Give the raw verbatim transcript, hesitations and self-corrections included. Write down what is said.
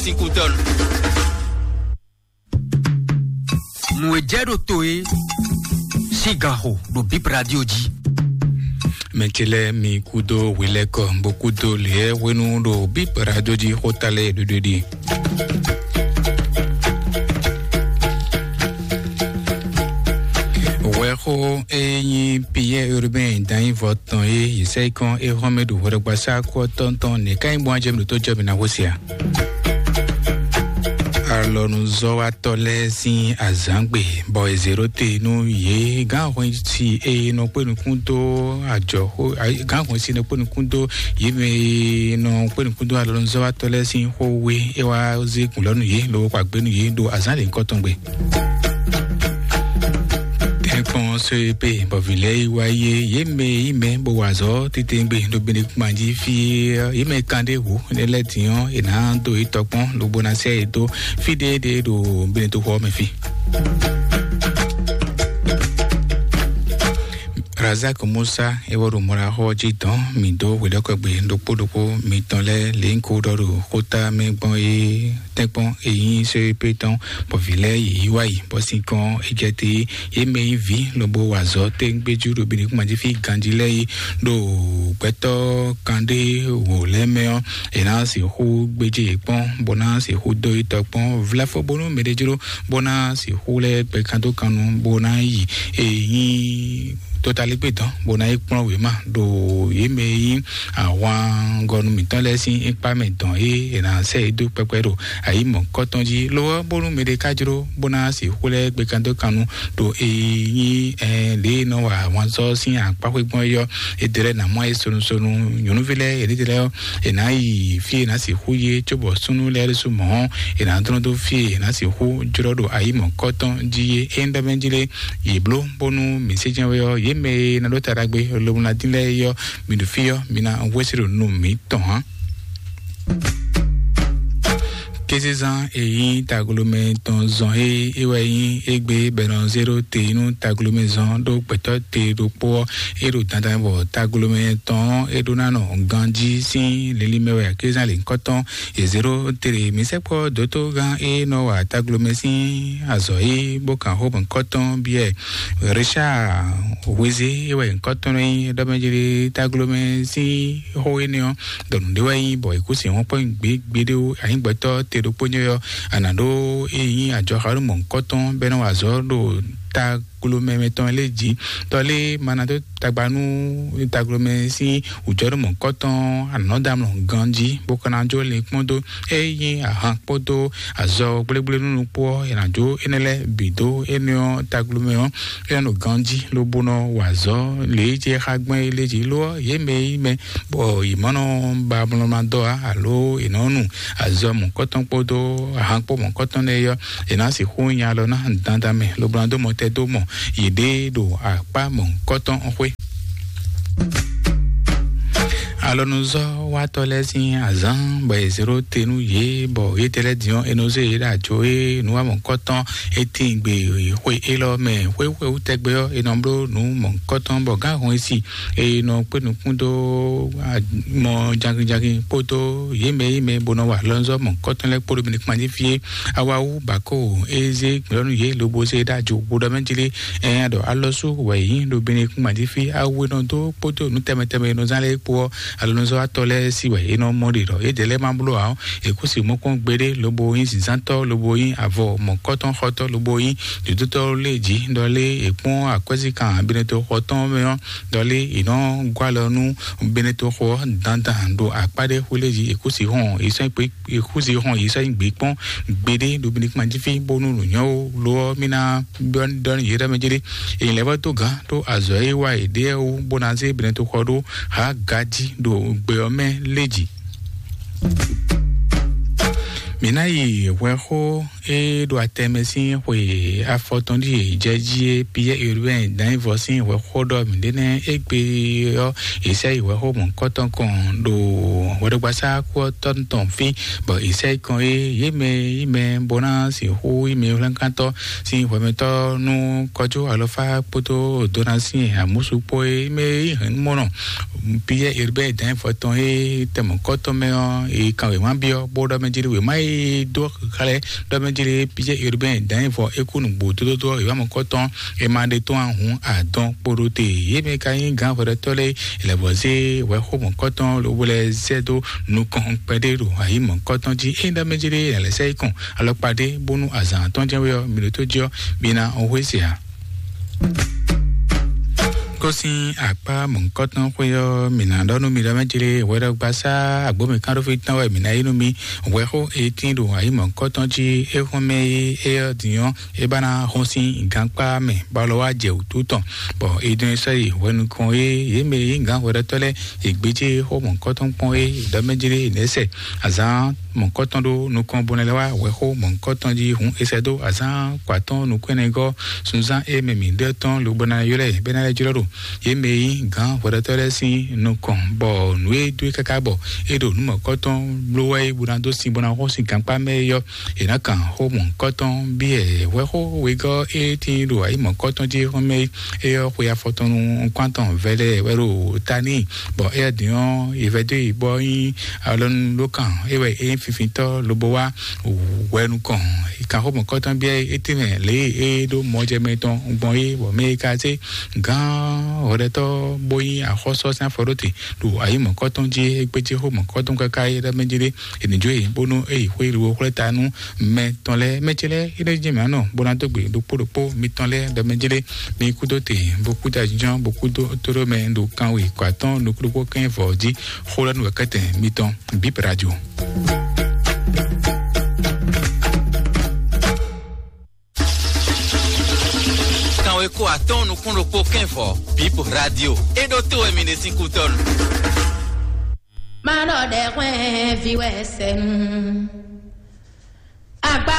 Sikutɔn. Nǔ e jɛ ɖo to é sín ganxo ɖo Bip Radio jí. Mɛ ce lɛ́ɛ, mi kúdó hwelɛ́kɔ, bó kúdó lěɛ́ hwenu ɖo Bip Radio jí xóta lɛ́ɛ ɖuɖuɖi. Wɛxó e nyí Pierre Urbain Danyivɔ tɔn e yi sɛ yi kɔn e hɔn mɛ ɖo hwɛɖɔgbasá kú ɔ́ tɔn tɔn nɛ̌ ká nyí gbɔn ajɛ mi ɖo tó jɔ mi ná xó se a? Alɔnuzɔ́watɔ́ lɛ́ɛ sín azǎngbe bɔ è zě ɖó te nú yě gǎn hwɛsi e nɔ kpé nukún dó ajɔxó gǎn hwɛsi nɔ kpé nukún dó yě mɛ e nɔ kpé nukún dó alɔnuzɔ́watɔ́ lɛ́ɛ sín xó we é wá zé gǔn lɔ nú yě lobo kpa gbé nú yě ɖo azǎn lěhunkɔtɔn gbe. Tɛ́nkpɔ́n sɔ́ e pé bɔ vǐ lɛ́ɛ yi wá yé yě mɛ e nyí mɛ bó wa azɔ̌ titewungbe ɖo Benekuma jí fí é, yě mɛ kan ɖé hǔ ne lɛ́ din ɔ́, è nǎ dó yi tɔkpɔn lobo ná sɛ yi dó fí ɖé ɖé ɖo Benetoxɔ ɔ́ mɛ fí. Razak Musa é wɔ ɖo mɔɖaxɔ jí dɔn mǐ dó hwelɛ́kɔgbe ɖokpó ɖokpó mitɔn lɛ́ɛ lě nyí ko ɖɔ ɖo xóta mɛ gbɔn é tɛ́nkpɔ́n e nyí sɔ́ e pé tɔn bɔ vǐ lɛ́ɛ yě yi wá yi bɔ sinkɔn é jɛ te yě mɛ nyí vǐ lobo wa azɔ̌ tɛ́ngbéjú ɖo Benekuma jí fí ganjí lɛ́ɛ yi ɖo gbɛtɔ́ kanɖé wǒ lɛ́ɛ mɛ ɔ́, è nǎ sixú gbéjé yě kpɔ́n bó ná sixú dó yi tɔ kpɔ́n vlafɔ bónú mɛ ɖé jló bó ná sixú lɛ́ gbɛ kan dó kan nu bó ná yi e nyí totaligbé dɔn bó ná yi kplɔ́n wěma ɖo yě mɛ e nyí ahwangɔnu mǐtɔn lɛ́ɛ sín ikpá mɛ dɔn e è nǎ sɛ yě dó kpɛkpɛ ɖo ayǐ mɔ̌kɔtɔn jí. Lo ɔ́, bónú mɛɖé ka jló bó ná sixú lɛ́ gbɛkandókannu ɖo e nyí ɛ lě e nɔ wa ahwanzɔ́ sín akpáxwé gbɔn é ɔ́, è ɖe lɛ́ɛ nǎ mɔ ayé sonusonu. Nyɔ̌nuví lɛ́ɛ yě ɖéɖé lɛ́ɛ ɔ́, è nǎ yi fí e è nǎ sixú yé cóbɔ súnnu lɛ́ɛ ɖésú mɔ̌ ɔ́, è nǎ dlɔ́n dó fí e è nǎ sixú jlɔ́ ɖo ayǐ mɔ̌kɔtɔn jí é. É nyí ɖɔ mɛ jí lé yě bló bónú mǐ sé jɛ́n wɛ ɔ́, yě mɛ e ná ɖó ta ɖagbe lobo ná dín lɛ́ɛ é ɔ́, mi ɖo fí ɔ́, mi ná hwesí ɖo nú mǐtɔn ǎ. Kézezán e nyí taglomɛ tɔn zɔn e é wɛ nyí égbé bɔ è nɔ zé ɖó te nú taglomɛ zɔn ɖó gbɛtɔ́ te ɖokpó ɔ́, é ɖo dandan bɔ taglomɛ tɔn ɔ́ é ɖó ná nɔ ganjí sín linlin mɛ wɛ kézezán lěhunkɔtɔn è zě ɖó te ɖe. Mǐ sɛkpɔ́ dǒtó gán e nɔ wa taglomɛ sín azɔ̌ é bó kan xó mɔ̌hunkɔtɔn biɛ Richard Hwezé é wɛ nyǐkɔ tɔn nɔ nyí ɖɔ mɛ jlé taglomɛ sín xó énɛ́ ɔ́, ɖɔ nǔɖé wɛ nyí bɔ è kú sin wɔ́n kpɔ́n gběgbéɖé ó. Anyǐgbɛtɔ́ te ɖokpó nyɔ́ ɔ́, a nǎ ɖó é nyí ajɔxanú mɔ̌hunkɔtɔn bɔ é nɔ wa azɔ̌ ɖo taglomɛ mɛtɔn lɛ́ɛ jí. Tɔ lé ma ná dó tagba nú taglomɛ sín wǔjɔnú mɔ̌hunkɔtɔn anɔ̌damlɔ ganjí bó ka ná jó linkpɔ́n dó é nyí ahan kpódó azɔ gblégblé nú nukpó ɔ́, è nǎ jó énɛ́ lɛ́ɛ bǐ dó énɛ́ ɔ́ taglomɛ ɔ́, é nɔ ɖo ganjí lobo nɔ wa azɔ̌ lě e jɛ xá gbɛn é lé jí. Lo ɔ́, yě mɛ e nyí mɛ bɔ yě ma nɔ ba amlɔma dɔ́ ǎ, alo è nɔ nu azɔ mɔ̌kɔtɔn kpódó ahan kpó mɔ̌kɔtɔn lɛ́ɛ é ɔ́, è nǎ sixú nya alɔ ná dandan mɛ lobo ná dó mɔtɛn dó mɔ yěɖée ɖo akpá mɔ̌kɔtɔn xwé. Alɔnuzɔ́watɔ́ lɛ́ɛ sín azǎn bɔ è zě ɖó te nú yě, bɔ yědɛɛ lɛ́ɛ din ɔ́, è nɔ zé yě ɖo ajo e nǔ wa mɔ̌kɔtɔn é tíin gbe xwe élɔ́ mɛ. Xwé xwé wú tɛgbɛ ɔ́, è nɔ bló nǔ mɔ̌kɔtɔn bɔ gǎn hɔn e si e nɔ kpé nukún dó mɔ jankinjankin kpódó yě mɛ yě mɛ bó nɔ wa alɔnuzɔ́ mɔ̌kɔtɔn lɛ́ɛ kpódó mɛ kpan jí fí é. Awa wú bǎ kó e zé gbɛ̌ nú yě lobo zé ɖó ajo bó ɖɔ mɛ jí lé. Ɛn ɖɔ alɔsú wɛ yě nyí ɖo Benekún gban jí fí awu e nɔ dó kpódó nǔ tɛnmɛ tɛnmɛ e nɔ zán lɛ́ɛ kpó ɔ́, alɔnuzɔ́watɔ́ lɛ́ɛ sí wɛ é nɔ mɔ ɖe ɖɔ yědɛɛ lɛ́ɛ ma bló ǎ ɔ́, è kú si mɔ kpɔ́n gbeɖé lobo nyí zǐnzántɔ́ lobo nyí avɔ mɔ̌kɔtɔnxɔtɔ́ lobo nyí dǒdótɔ́ lé jí ɖɔ lé è kpɔ́n akwɛ́zíkan Benetoxɔ tɔn mɛ ɔ́, ɖɔ lé è nɔ gɔ́ alɔ nú Benetoxɔ ɔ́ dandan ɖo akpá ɖé xwé lé jí è kú si hɔn è sɔ́ kpé Yehowa xɔn yi sɔ́ nyi gbě kpɔ́n gbeɖé ɖo Benekuma jí fí bónú nǔnyɔ́ ó. Lo ɔ́, mì ná ɖɔ nú yě ɖɔ mɛ jlé. Èyí lɛ́ vɔ́ dó gǎn ɖó azɔ̌ e wa yě ɖe ɔ́ wú, bó ná zé Benetoxɔ ɖó Haga jí ɖo gbɛ ɔ́ mɛ lé jí. Mǐ ná yi hwɛxó E ɖo atɛmɛ sín xwe afɔtɔn ɖíe jɛ jí é. Piyɛ́ Urbain Danyivɔ sín hwɛxó ɖɔ mǐɖé nɛ́ égbé ɔ́, è sɛ́ yi hwɛxó mɔ̌hunkɔtɔn kɔn ɖo hwɛɖɔgbasá kú ɔ́ tɔn tɔn fí, bɔ è sɛ́ yi kɔn é. Yě mɛ yi mɛ bó ná sixú yi mɛ hwlɛ́nkántɔ́ sín hwɛmɛtɔ́ nú kɔjú alɔfá kpódó dona sín amúsu kpó é. Mɛ yi hɛn mɔnɔ Piyɛ́ Urbain Danyivɔ tɔn é tɛmɔ̌kɔtɔn mɛ ɔ́, è kan wěma byɔ́ bó ɖɔ mɛ jí wěma e dó xlɛ́ ɖɔ mɛ jí Piyɛ́ Urbain Danyivɔ é kú nǔgbó dódódó wěma mɔ̌kɔtɔn é ma ɖe tɔn ahun adɔn kpo ɖó te. Yě mɛ ka nyí gǎn hwɛɖɔtɔ́ lɛ́ɛ lɛ̌vɔzé hwɛxó mɔ̌kɔtɔn lobó lɛ́ zɛ dó nukɔn kpɛɖé ɖo ayǐ mɔ̌kɔtɔn jí. É ɖɔ mɛ jí lɛ̌ sɛ́ yi kɔn alɔkpa ɖé bónú azǎn tɔn jɛ́n wé ɔ́, mi ɖo tó jí ɔ́, mi ná ɔ́ hwé se ǎ. Kó sín akpá mɔ̌hunkɔtɔn xwé ɔ́, mǐ ná ɖɔ nú mi ɖɔ mɛ jí lé hwɛɖɔgbasá agbǒmɛ kánɖófí tɔn wɛ mǐ ná yí nú mi. Hwɛxó e tín ɖo ayǐ mɔ̌hunkɔtɔn jí é xɔ́n mɛ é é ɔ́ din ɔ́, é ba ná xɔ́n sín gankpá mɛ bɔ alɔ wá jɛ wǔtu tɔn, bɔ é dɔn é sɔ́ yi hwɛ nukɔn é. Yě mɛ yí gǎn hwɛɖɔtɔ́ lɛ́ɛ, yě gbéjé xó mɔ̌hunkɔtɔn kpɔ́n é ɖɔ mɛ jí lé nɛ̌ sɛ azǎn mɔ̌kɔtɔn ɖó nukɔn bó ná lɛ́ wá hwɛxó mɔ̌kɔtɔn jí hǔn è sɛ́ dó azǎn kɔ atɔ́ɔ́n nukún ɛnɛ gɔ́ sunzán e mɛ mǐ ɖɔ tɔn lobo ná ylɔ́ ɛ bɔ é ná lɛ́ jlɔ́ ɖo yě mɛ e nyí gǎn hwɛɖɔtɔ́ lɛ́ɛ sín nukɔn, bɔ nǔ e dó e káká bɔ é ɖo nǔ mɔ̌kɔtɔn bló wɛ é bó ná dó sin bó ná xɔ́n sin gankpá mɛ é ɔ́, è nǎ kan xó mɔ̌kɔtɔn byɔ́ ɛ. Hwɛxó wegɔ́ e tín ɖo ayǐ mɔ̌kɔtɔn jí xɔ́n mɛ é ɔ́, xwe afɔtɔn nukún atɔn vɛlɛ wɛ ɖo ta n'i, bɔ éyɛ́ din ɔ́, è vɛ́ dó yi bɔ é nyí alɔnulókan é wɛ é nyí finfintɔ́ lobo wá hwɛ nukɔn. Kanxómɔkɔ́tɔn bia é tɛ́nmɛ lě e é ɖó mɔjɛmɛ tɔn gbɔn é, bɔ mɛ e ka zé gǎn hɔɖɛtɔ́ bó nyí axɔ́sɔ sín afɔ ɖó te ɖo ayǐ mɔ̌kɔtɔn jí é gbéjé xó mɔ̌kɔtɔn káká é ɖɔ mɛ jí ɖé, è nǐ jó e bónú é yi xwé lobo xwlɛ́ ta nú mɛ tɔn lɛ́ɛ. Mɛ ce lɛ́ɛ é ɖɔ jí mǐ nɔ bó ná dó gbe ɖokpó ɖokpó mitɔn lɛ́ɛ ɖɔ mɛ jí ɖé. Mi kúdó te, bó kúdó ajínjɔ́n, bó kúdó tóɖó mɛ ɖo kanwe kɔ atɔ́ɔ́n nukúɖokpó kɛ́n vɔ̌ jí. Xó lɛ́ɛ nú wɛ̌kɛ́tɛn mitɔn, Bip Radio. Kanwe kó atɔ́ɔ́n nukún ɖokpó kɛ́n vɔ̌, Bip Radio. É ɖó tó wɛ mi ɖe sín kútɔ́nu. Má ɖɔ ɖɛ hwɛ́n ví wɛ sɛnu.